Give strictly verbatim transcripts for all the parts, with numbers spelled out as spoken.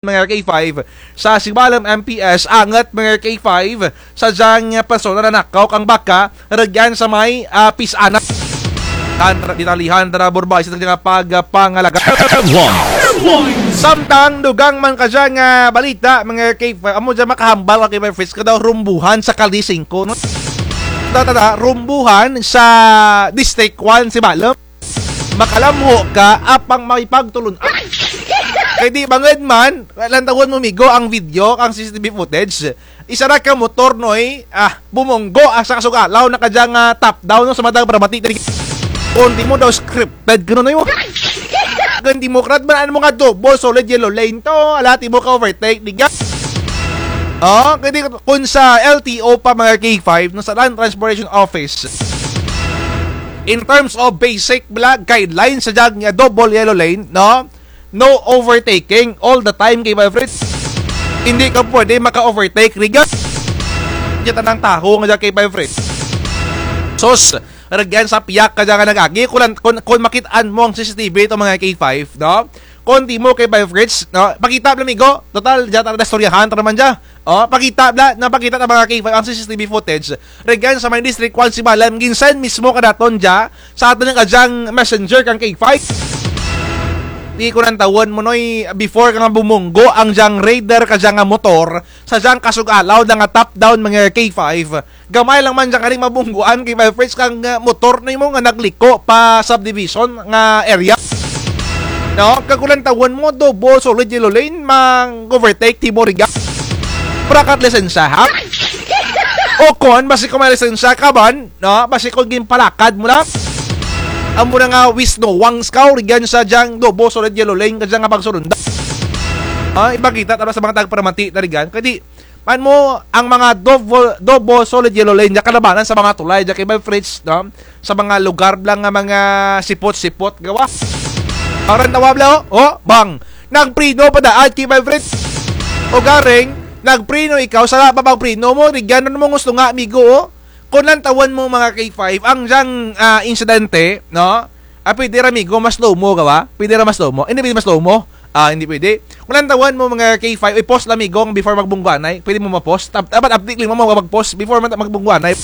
mga K five, sa Sibalom M P S, angut mga K five, sa dyang persona nanakaw kang baka, rugyan sa may, ah, Pisanan. Tan-, detalihan tana, Burbay, sa dyang pagpangalaga. Samtang dugang man kadya nga balita, mga K five, amo dya makahambal ka K five Fritz, kadaw rumbuhan sa Kalye singko, no? Tana, tana, rumbuhan sa District one Sibalom. Makalamho ka, apang may pagtulon-an. Kay di bangud man, lantawun mo, migo, ang video, ang C C T V footage. Isa ra ka motor, noy, ah, bumunggo, ah, sa kasug-alaw na kadya nga top down, no, sa matag paramati. Kon timo daw scripted kuno, noy, mo. Kon Democrat man, ano mo nga double solid yellow lane to, ala, timo ka-overtake, di ka. Oh, kay di, kon sa L T O pa, mga K five, no, sa Land Transportation Office. In terms of basic bala guidelines sa dyang, ah, double yellow lane, no? No overtaking all the time, K five Fritz. Hindi ka pwede maka-overtake, rugyan. Dya tanang taho nga dya, K five Fritz. Sus, rugyan sa piyak kadya nga nag-agi, kon, kon, kon makit-an mo ang C C T V to, mga K five, no? Kon timo, K five Fritz, no? Pakita bala, migo. Total, dya tana istoryahan tana man dya. Oh, pakita bala, napakita ta, mga K five, ang C C T V footage. Rugyan sa may District one Sibalom, gin-send mismo kanaton dya sa atun kadyang messenger kang K five. Di ko lantawun mo, noy, before ka nga bumunggo ang dyang Raider kadya nga motor, sa dyang kasug-alaw na nga top down, mga K five. Gamay lang man dya kani mabungguan, K five Fritz, kang, ah, motor nimo nga nagliko pa subdivision nga area. No, kag kon lantawun mo, double solid yellow lane, mang-overtake timo, rugyan. Wara ka lisensya, ha? O kon, basi kon may lisensya ka man, no? Basi kon ginpalakad mo lang. Amo na nga wisnowang ka, rugyan, sa dyang double solid yellow lane kadya nga pagsurunda. Ah, ipakita tana sa mga tagparamati tana, rugyan. Kay di, man mo, ang mga double, double solid yellow lane, dya kalabanan sa mga tulay, dya, K five Fritz, no? Sa mga lugar bala nga mga sipot-sipot, gawa. Ang rantawa bala, oh, oh, bang. Nagpreno pa daan, K five Fritz. Ugaring, nagpreno ikaw, sala pa pagpreno mo, rugyan, ano mo gusto nga, migo, oh? Kon lantawun mo, mga K five, ang dyang, ah, insidente, no? Ah, pwede ra, migo, ma-slow mo, gawa? Pwede ra ma-slow mo? Hindi pwede ma-slow mo? Ah, hindi pwede. Kon lantawun mo, mga K five, i-pause lang, migo, before magbungguanay. Pwede mo ma-pause. Tap-, dapat update lang mo mag-pause before mag-, magbungguanay.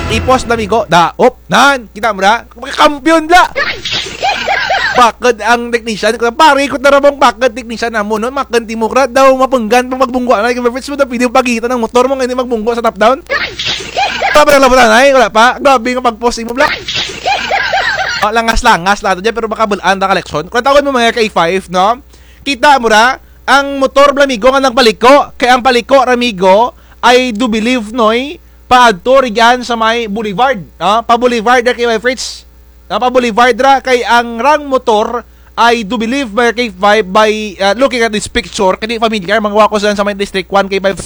I-pause lang, migo. Da, op, nan, kita mo ra? Kampiyon bala! Bakod ang technician, pare, ikot na ra mong bakod technician namo, no? Makon timo ra daw, mapunggan pa magbungguanay, K five Fritz, mo daw pwede pagita ang motor mo, nga hindi magbunggo sa top down. Wara pa naglabutanay, wara pa. Grabe nga pag-pause mo bala. Oh, langas-langas lang to dyan, pero makabul-an ta ka leksyon. Kon lantawun mo, mga K five, no? Kita mo ra, ang motor bala, migo, nga nagpaliko. Kay ang paliko ra, migo, ay do believe, noy, paadto rugyan sa may Boulevard, no? Pa Boulevard ra, K five Fritz. No, pa Boulevard ra, kay ang dyang motor ay do believe, mga K five, by, ah, looking at this picture, kay di familiar, mga wako sa, sa may District one, K five.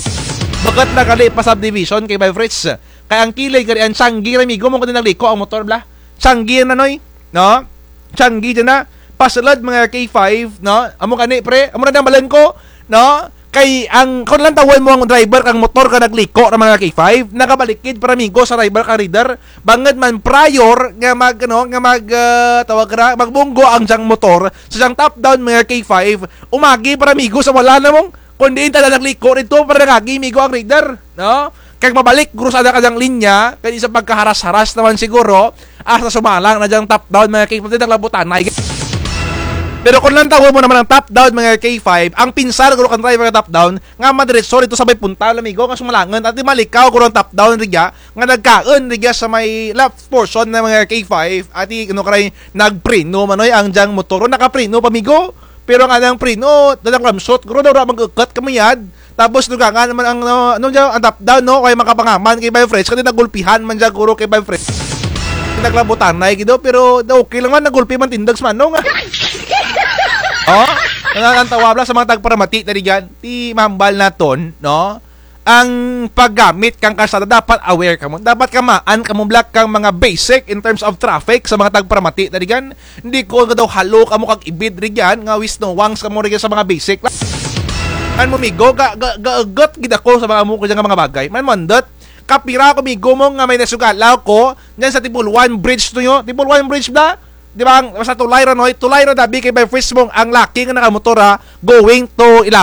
Bukut na gali pa subdivision, K five Fritz. Kay ang kilid gali, ang tiyanggi ra, migo, mo kani nagliko ang motor bala. Tiyanggi na, noy, no? Tiyanggi dyan na. Pasulud, mga K five, no? Amo kani, pre, amo na ang balon ko, no? Kay ang, kon lantawun mo ang driver kang motor kang nagliko ra, mga K five, nagabalikid pa ra, migo, sa driver kang Raider. Bangud man prior nga mag, ano, nga mag, ah, tawag ra, magbunggo ang dyang motor sa dyang top down, mga K five, umagi pa ra, migo, sa wala na mong, kon diin tana nagliko rugto pa ra nangagi, migo, ang Raider, no? Kag mabalik guro sa dyang linya, kay sa pagkaharas-haras na man siguro, hasta sumalang na dyang top down, mga K five, naglabutanay. Pero kon lantawun mo na man ang top down, mga K five, ang pinsar guro kang driver kang top down, nga madiretso rugto sa may punta, amigo, nga sumalangun, ati malikaw guro ang top down rugya, nga nagkaun rugya sa may left portion na, mga K five, ati, ano, karay, nagpreno man, oy, ang dyang motor, nakapreno pa, amigo. Pero ang anang preno, dalang ramsot, guro daw ra mag-ukot kamayad. Tapos dugangan man ang, ano, ano dyan, ang top down, no? Kay makapangaman, K five Fritz, kay nagulpihan man dyan, guro, K five Fritz. Naglabutanay gid, pero okay lang man, nagulpi man tindog sa manong. Oh? Nanantawa bala sa mga tagparamati tana dyan. Ti mahambal naton, no? Ang paggamit kang kalsada, dapat aware kamo. Dapat kamaan kamo bala kang mga basic in terms of traffic sa mga tagparamati tana dyan. Hindi ko nga daw halo kamo kag ibid rugyan, nga wisnowang kamo rugyan sa mga basic. Man mo, migo, ga, ga, gaugot gid ako sa mga amo ko dyan nga mga bagay. Man mo, andut, kapira ko, migo, mo nga may nasugalaw ko dyan sa Tibuluan Bridge to nyo. Tibuluan Bridge bala? di ba, ang, basta tulay ra, Noy, tulay ra, dabi kay by first mo ang laki nga nakamotor, ha, going to Ilabay.